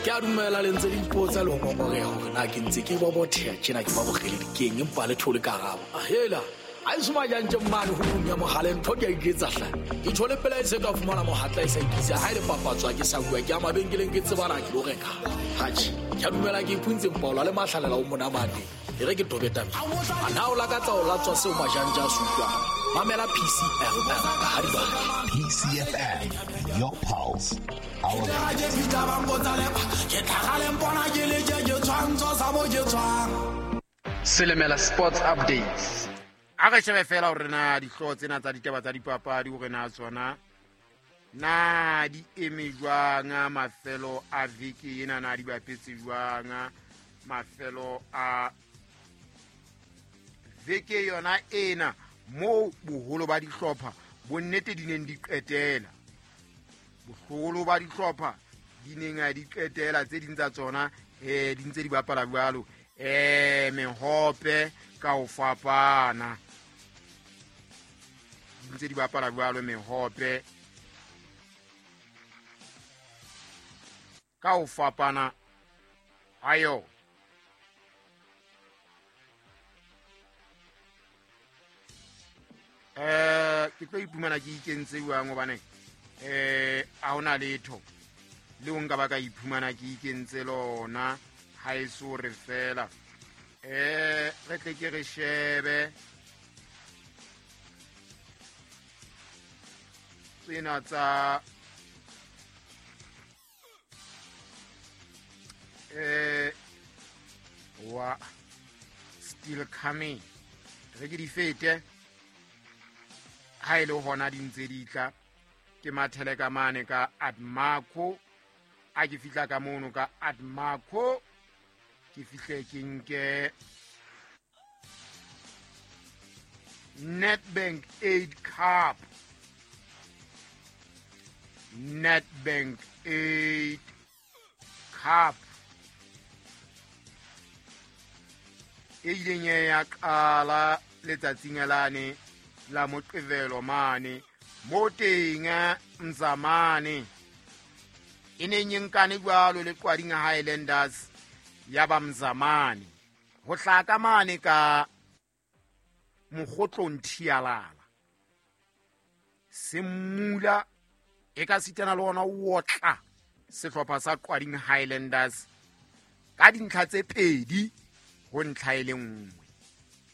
Ke a dumela le ntse le ipotsa le ho ngongoreha hore na ke ntse ke bobotheha tjena ke ba bokgeledi keng empa le thole karabo. Ahela, a eso majantje mane ho ya mogale ntho ke a iketsa hle. Ke tjho le pela e se ka fumana mohatla e sa ikisa ha e le papatswa ke sa bua ke ya mabenkeleng ke tsebana ke lo reka. Hatjhe, ke a dumela ke iphuntse mpaola le mahlalela o monamane. E re ke tobe tabeng. A na o lakatsa ho latswa seo majantje a se utlwang? Mamela PCFM ka ha di batla. PCFM, your pulse, our Selemela Sports Updates. A re shebe fela hore na dihlooho tsena tsa ditaba tsa dipapadi hore na tsona na di eme jwang mafelo a veke ena, na di bapetse jwang mafelo a veke yona ena moo boholo ba dihlopha bonnete di neng di qetela. Boholo ba dihlopha di neng di qetela, tse ding tsa tsona di ntse di bapala jwalo mehope ka ho fapana, di ntse di bapala jwalo mehope ka ho fapana ha yona. Ke tlo iphumana ke ikentse jwang hobane ha hona letho le o nka ba ka iphumana ke ikentse lona ha e so re fela. Re tle ke re shebe tsena tsa wa still coming, re ke di fete ha e le hona di ntse di tla. Ke mathele ka mane ka Admarco, a ke fihla ka mono ka Admarco ke fihle ke nke Nedbank 8 Cup, Nedbank 8 Cup e ileng ya qala letsatsing lane la Moqebelo mane mo teng Mzamane e neng e nkane jwalo le Qwading Highlanders ya ba Mzamane ho hlaka mane ka Mokgotlong Thialala Semmula e ka sitana le ona o otla sehlopha sa Qwading Highlanders ka dintlha tse pedi ho ntlha e le nngwe.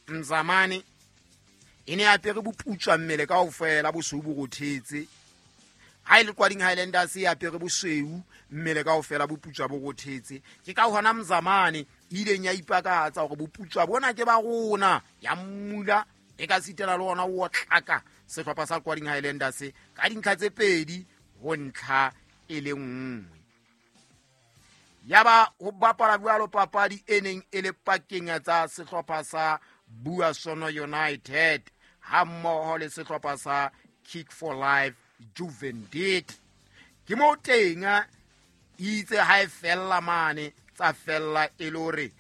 Mzamane e ne apere boputswa mmele kaofela, bosweu bo rothetse. Ha e le Qwading Highlanders e apere bosweu mmele kaofela, boputswa bo rothetse. Ke ka hona Mzamane e ileng ya ipakatsa hore boputswa bona ke ba rona, ya mmula e ka sitela le ona o otlaka sehlopha sa Qwading Highlanders ka dintlha tse pedi ho ntlha e le nngwe. Ya ba ho bapala jwalo papadi e neng e le pakeng tsa sehlopha sa Buasono United ha mmoho le sehlopha sa Kick for Life Juvendit. Ke moo teng itse ha e fella mane tsa fella e le hore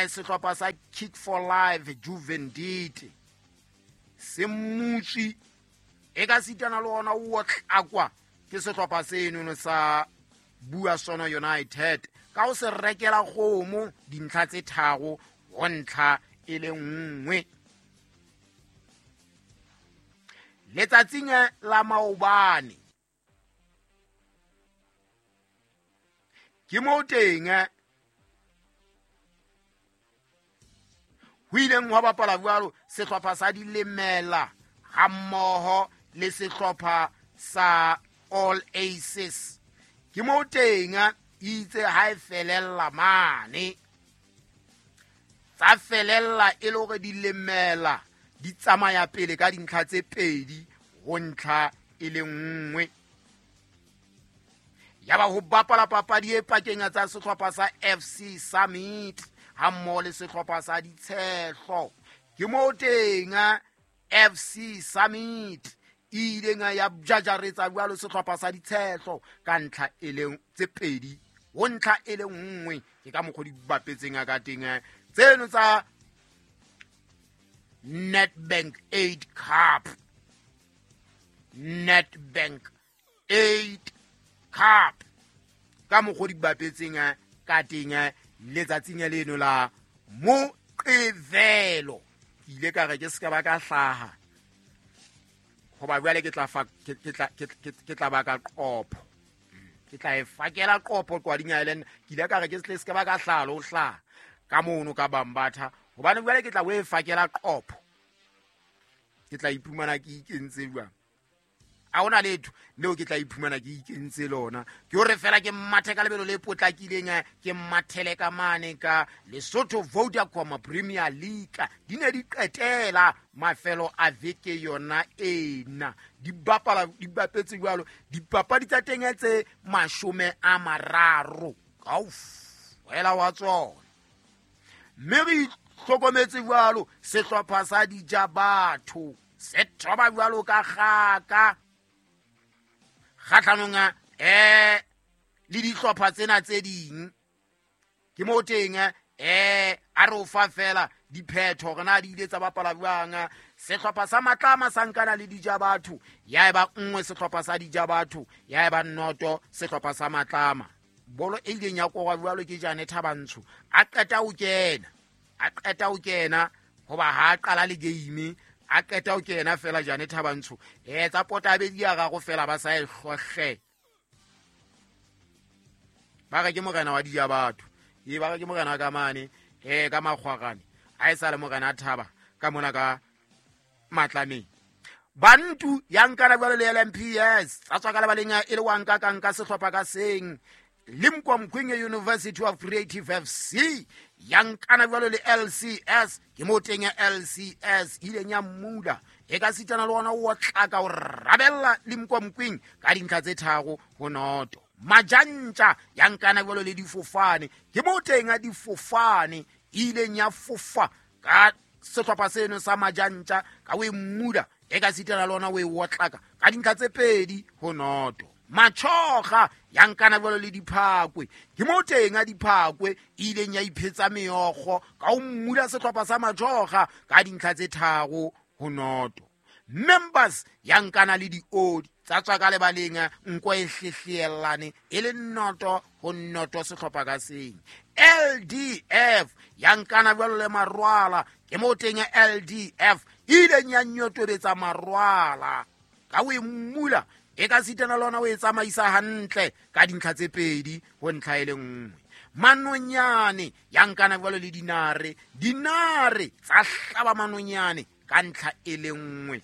sehlopha sa Kick for Life Juvendit se mmutswi e ka sitana le ona o tlakwa ke sehlopha seno sa Buasono United ka ho se rekela kgomo dintlha tse tharo ho ntlha e le nngwe. Letsatsing la maobane ke moo teng ho ileng hwa bapala jwalo sehlopha sa Dilemela ha mmoho le sehlopha sa All Aces. Ke moo teng itse ha e felella mane tsa felella e le hore Dilemela di tsamaya pele ka dintlha tse pedi ho ntlha e le nngwe. Ya ba ho bapala papadi e pakeng tsa sehlopha sa FC Summit ha mmoho le sehlopha sa Ditshehlo. Ke moo teng FC Summit e ileng ya jajaretsa jwalo sehlopha sa Ditshehlo ka ntlha e leng tse pedi ho ntlha e le nngwe. Ke ka mokgwa di bapetseng ka teng tseno tsa Nedbank 8 Cup, Nedbank 8 Cup. Ka mokgwa di bapetseng ka teng letsatsing leno la Moqebelo. Ke ile ka re ke se ka ba ka hlaha hoba jwale ke tla ba ka qopho. Ke tla e fakela qopho Qwading Island. Ke ile ka re ke se ka ba ka hlaha le ho hlaha ka mono ka Bambatha, hobane jwale ke tla o e fakela qopho. Ke tla iphumana ke ikentse jwang? A hona letho leo ke tla iphumana ke ikentse lona. Ke hore fela ke mathe ka lebelo le potlakileng, ke mathele ka mane ka Lesotho Vodacom Premier League. Di ne di qetela mafelo a veke yona ena. Di bapala, di bapetse jwalo. Dipapadi tsa teng tse 30 kaofela wa tsona. Mme re hlokometse jwalo sehlopha sa Dijabatho se thoba jwalo ka kgaka kgahlanong le dihlopha tsena tse ding. Ke mo teng a re o fa fela diphetho hore na di ile tsa bapala jwang. Sehlopha sa Matlama sa nkana le Dijabatho, ya eba 1 sehlopha sa Dijabatho, ya eba 0 sehlopha sa Matlama. Bolo e ileng ya korwa jwalo ke Jane Thabantsho. A qeta ho kena hoba ha qala le game, a qeta ho kena fela Jane Thabantsho. Tsa pota bedi ya gago fela ba sa e hlohle. Ba re ke morena wa Dijabatho. Ba re ke morena ka mane, ka Makgwarane. Ha e sa le morena Thaba ka mona ka Matlameng. Bantu ya nkana jwalo le LMPS. Tsa tswa ka lebaleng e le wa nka ka nka sehlopha ka seng. Limkokwing University of Creative FC ya nkana jwalo le LCS. Ke mo teng ya LCS ileng ya mmula e ka sitana le ona o tlaka o rabella Limkokwing ka dintlha tse 3-0. Majantja ya nkana jwalo le difofane. Ke mo teng ya difofane ileng ya fofa ka sehlopha seno sa Majantja ka o mmula e ka sitana le ona o e otlaka ka dintlha tse 2-0. Machoga ya nkana jwalo le Diphakwe. Ke mo teng a Diphakwe ileng ya iphetsa meokgo ka o mmula sehlopha sa Machoga ka dintlha tse 3-0. Members ya nkana le diodi tsa tswa ka lebaleng nko e hlehlelane e le 0-0 sehlopha ka seng. LDF ya nkana jwalo le Marwala. Ke mo teng ya LDF ileng ya nyotobetsa Marwala ka o mmula e ka sitana lona o e tsamaisa hantle ka dintlha tse 2-1. Manonyane ya nkana jwalo le Dinare. Dinare tsa hlaba Manonyane ka ntlha e le 1-0.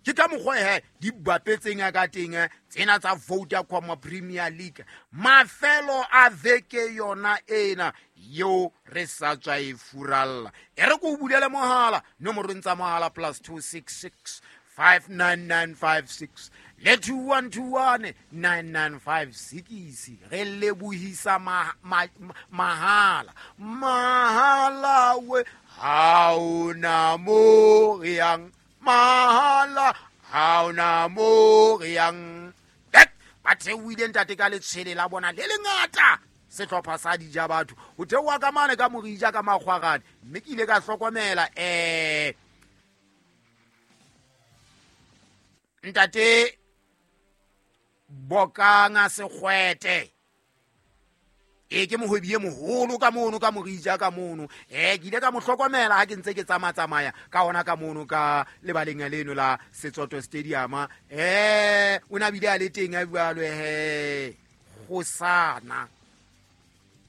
Ke ka mokgwa he di bapetseng ka teng tsena tsa Vodacom Premier League mafelo a veke yona ena yo re sa tswa e furalla. E re ko bulele mohala nomorong tsa mohala +266 59956 le 2121 9956. Re lebohisa mahala mahala we ha ona mo re yang mahala ha ona mo re yang. Ba theohile ntate ka letshwele la bona le lengata sehlopha sa Dijabatho ho theoha ka mane ka Morija ka Makgwarane. Mme ke ile ka hlokomela ntate Bokanga Sekgwete e ke mohwebi e moholo ka mono ka Morija ka mono. Ke ile ka mo hlokomela ha ke ntse ke tsamaya ka ona ka mono ka lebaleng leno la Setsoto Stadium. O na bile a le teng a jwalo kgosana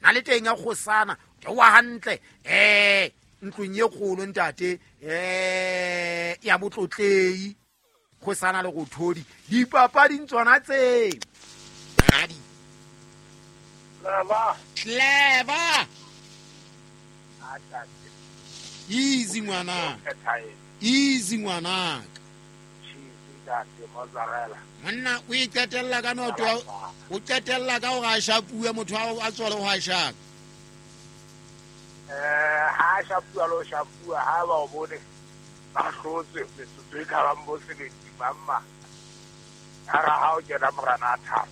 na le teng a kgosana wa hantle ntlong e kgolo ntate ya botlotlei kgosana le go thodi dipapading tsona tse. Clever. Easy ngwana. Easy ngwana. Monna o iqetella ka noto, o qetella ka hore a shapuwe motho a tswale ho a shaka. Ha shapuwa lo shapuwa ha ba o bone ba hlotse metsotso e ka bang bo sebedi mamma. Ha ra ha o kena morana a thaba.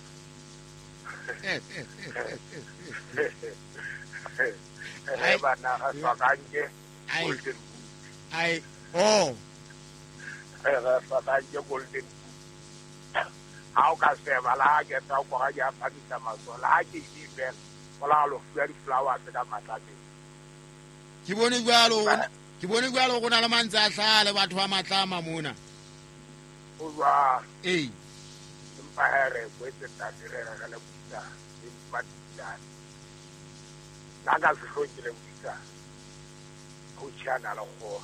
Bana ga swakanke golden boot. Ai oh. Ga swakanke golden boot. Ha o ka sheba la ha ke tla o kora ke a phamisa matsoho la ha ke di fela o la lo fuwa di-flowers ka Matlabeng. Ke bone jwalo go na le mantse a hlaha le batho ba Matlama mona. O jwalo. Ee. Empa he re kwetse ntate re re le buisa empa ditlane. Nna ka sehloohong ke le buisa ho tjhana le kgoho.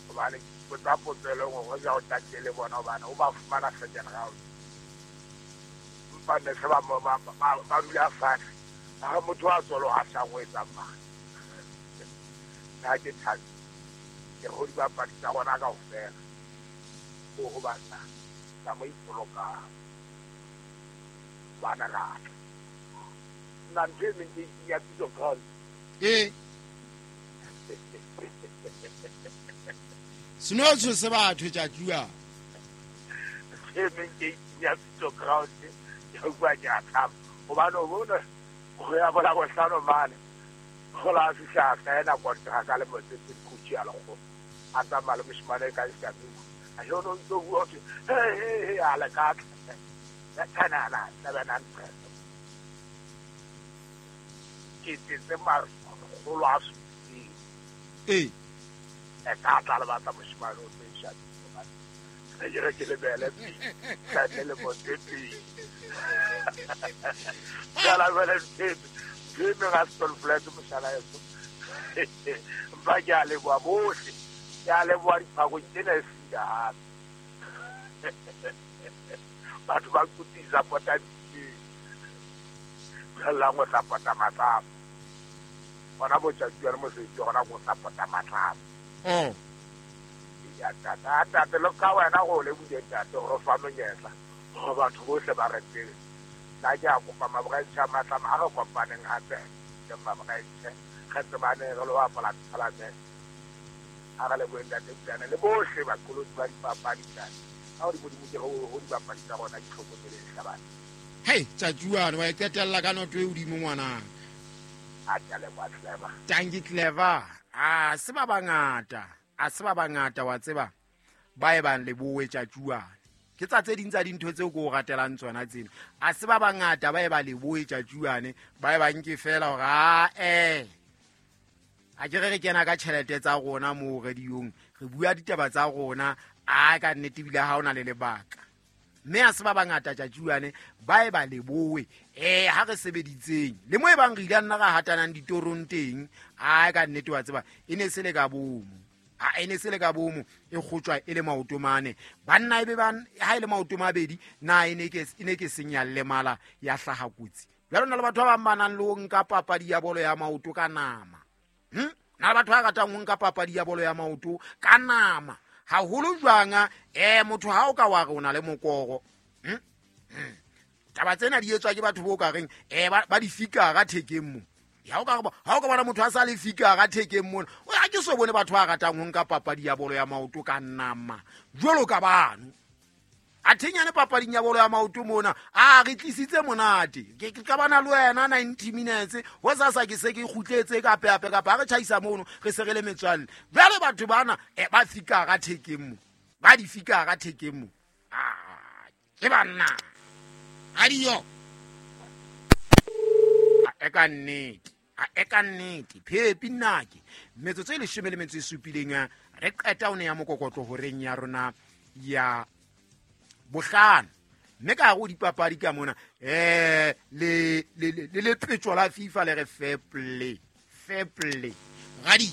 Hobane potsa potso e le nngwe ho ja o tatile le bona hobane o ba fumana second round. Empa ne se ba dula fatshe. Ha motho a tswalo a sa o etsang mang. Nna ke thabile. Ke ho dibapadi tsa rona kaofela. Ho banna ka mo ipolokang. Bana rata. Nna ntho e meng ke ya pitso ground. Ee. Seno se batho tjatjua. E meng ke ya pitso ground. Ke bua ke a thaba. Hobane o bona go ya bola bohlano mane. Go la fihla saena kontraka le Motsepe coach ya lekgo. A tsamaya le moshimane ka Shamiko. A yo no ntso bua hore he a le ka tla. Ya tshana 700. Ke tse makgolo a supileng. Ee. E ka tla le batla moshimane o tse Shamiko. Re ke re ke lebele pele. Le Motsepe. Jala jwale ntho e ga Stone mohlala eso. Mpa ke a leboha bohle. Ke a leboha diphakong tsena e seng hape. Batho ba kutisa pota diteng. Jwallang o tla pota Matlama. Hona botjatsi le mosebetsi hona go tla pota Matlama. Oh. Ya tata, ntate le ka wena go le bude ntate gore fa monyetla. Gore batho bohle ba re tsebe. Nna ke a kopa maboraetshe a Matlama a re kopaneng hape ke maboraetshe re tsebane re lo bapala tournament. A re leboheng ntate Pulane le bohle baqolotsi ba dipapadi ntate. Ka hore Modimo ke ho dibapadi tsa rona di hlokomeleng hlabane. Hei, tjatjuane wa e qetella ka noto e hodimo ngwanaka. A ke a leboha Clever. Tanki Clever. A se ba bangata. A se ba bangata wa tseba. Ba e bang lebohe tjatjuane. Ke tsa tse ding tsa dintho tseo ke o ratelang tsona tsena. A se ba bangata ba e ba lebohe tjatjuane, ba e ba nke fela hore a A ke re kena ka tjhelete tsa rona mo radiong, re bua ditaba tsa rona, a ka nnete bile ha ona le lebaka. Mme a se ba bangata tjatjuane ba e ba lebohe. Ha re sebeditseng le mo e bang re ile nna ra hatanang ditorong teng, a ka nnete wa tseba e ne se le ka bomo. A ene se le ka bomo e kgotjwa e le maoto mane. Banna ebe ba ha ile maoto mabedi na ene ke senya le mala ya hlaha kotsi. Jwale na le batho ba bang ba nang le ho nka papadi ya bolo ya maoto ka nama. Na le batho ba ratang ho nka papadi ya bolo ya maoto ka nama. Haholo jwang motho ha o ka wa re o na le mokoro. Taba tsena di etswa ke batho bo ka reng ba di fikara thekeng mo. Ya o ka ha o ka bona motho a sa le fikara thekeng mona. O ha ke so bone batho ba ratang ho nka papadi ya bolo ya maoto ka nama. Jwalo ka bano. A thenyane papading ya bolo ya maoto mona, a re tlisitse monate. Ke ka bana le wena 90 minutes, ho sasa ke se ke kgutletse ka peape kapa ha re tjhaisa mono, re se re le metswalle. Jwale batho bana ba fikara thekeng mo. Ba di fikara thekeng mo. Ke banna. Adio. A ka nnete. A ka nnete. Phepi nnake. Metsotso e 17 re qeta o ne ya mokokotlo horeng ya rona ya bohlano. Mme ka hare ho dipapadi ka mona le lepetjo la FIFA le re fair play. Fair play. Radio.